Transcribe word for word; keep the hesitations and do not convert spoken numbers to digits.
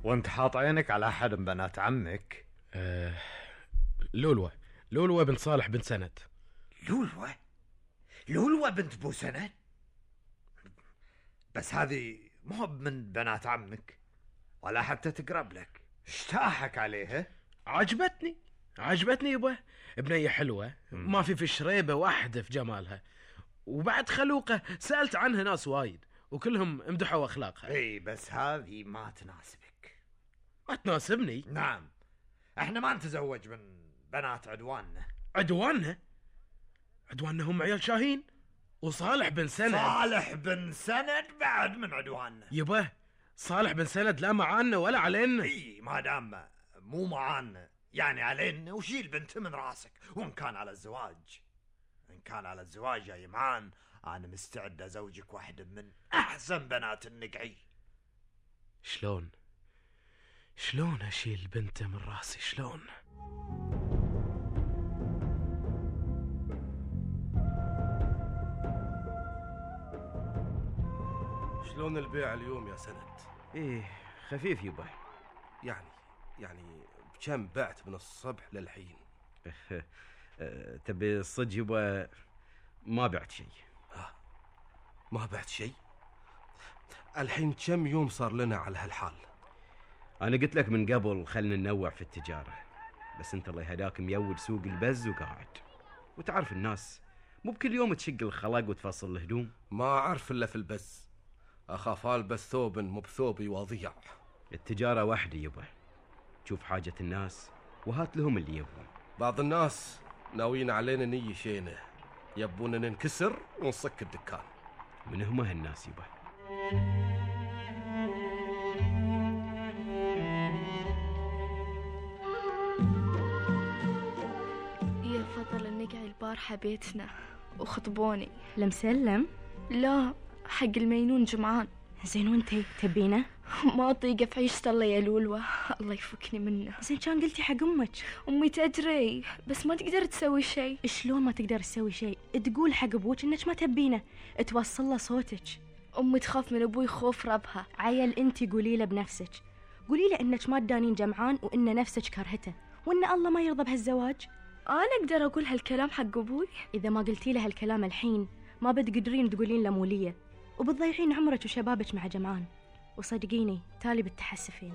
وانت حاط عينك على أحد من بنات عمك؟ أه لولوة لولوة بنت صالح بن سند. لولوة لولوة بنت بو سند؟ بس هذه مو من بنات عمك ولا حتى تقرب لك. اشتاحك عليها؟ عجبتني عجبتني يبا، بنية حلوة ما في في شريبة واحدة في جمالها، وبعد خلوقة. سألت عنها ناس وايد وكلهم امدحوا أخلاقها. اي بس هذه ما تناسبك. ما تناسبني؟ نعم، احنا ما نتزوج من بنات عدواننا. عدواننا؟ عدواننا هم عيال شاهين وصالح بن سند. صالح بن سند بعد من عدواننا يبا. صالح بن سند لا معانا ولا علينا. اي ما دام مو معانا يعني علينا، وشيل بنت من راسك. وان كان على الزواج ان كان على الزواج يا يمان، انا مستعد ازوجك واحدة من احسن بنات النقعي. شلون شلون اشيل بنته من راسي؟ شلون؟ شلون البيع اليوم يا سند؟ ايه خفيف يبا. يعني يعني بكم بعت من الصبح للحين؟ تبي الصج يبا؟ ما بعت شيء. آه. ما بعت شيء؟ الحين كم يوم صار لنا على هالحال؟ انا قلت لك من قبل خلنا ننوع في التجارة، بس انت الله يهداك ميود سوق البز وقاعد، وتعرف الناس مو بكل يوم تشق الخلق وتفصل الهدوم. ما اعرف الا في البز، اخاف البس ثوب مو بثوبي وضيع. التجارة وحدي يبا، تشوف حاجة الناس وهات لهم اللي يبون. بعض الناس ناويين علينا نية شينه، يبون ننكسر ونصك الدكان. من هم هالناس يبا؟ يا فضل النقعي البارحة بيتنا وخطبوني. لمسلم؟ لا، حق المينون جمعان. زين وانتي تبينه؟ ما اطيقه في عيشة الله يا لولوة، الله يفكني منه. زين كان قلتي حق امك؟ امي تدري بس ما تقدر تسوي شيء. شلون ما تقدر تسوي شيء؟ تقول حق ابوك انك ما تبينه، توصل له صوتك. امي تخاف من ابوي خوف ربها. عيل انتي قولي له بنفسك، قولي له انك ما تدانين جمعان وان نفسك كرهته وان الله ما يرضى بهالزواج. انا اقدر اقول هالكلام حق ابوي؟ اذا ما قلتي له هالكلام الحين ما بتقدرين تقولين له موليه، وبتضيعين عمرك وشبابك مع جمعان، وصدقيني تالي بتحسفين.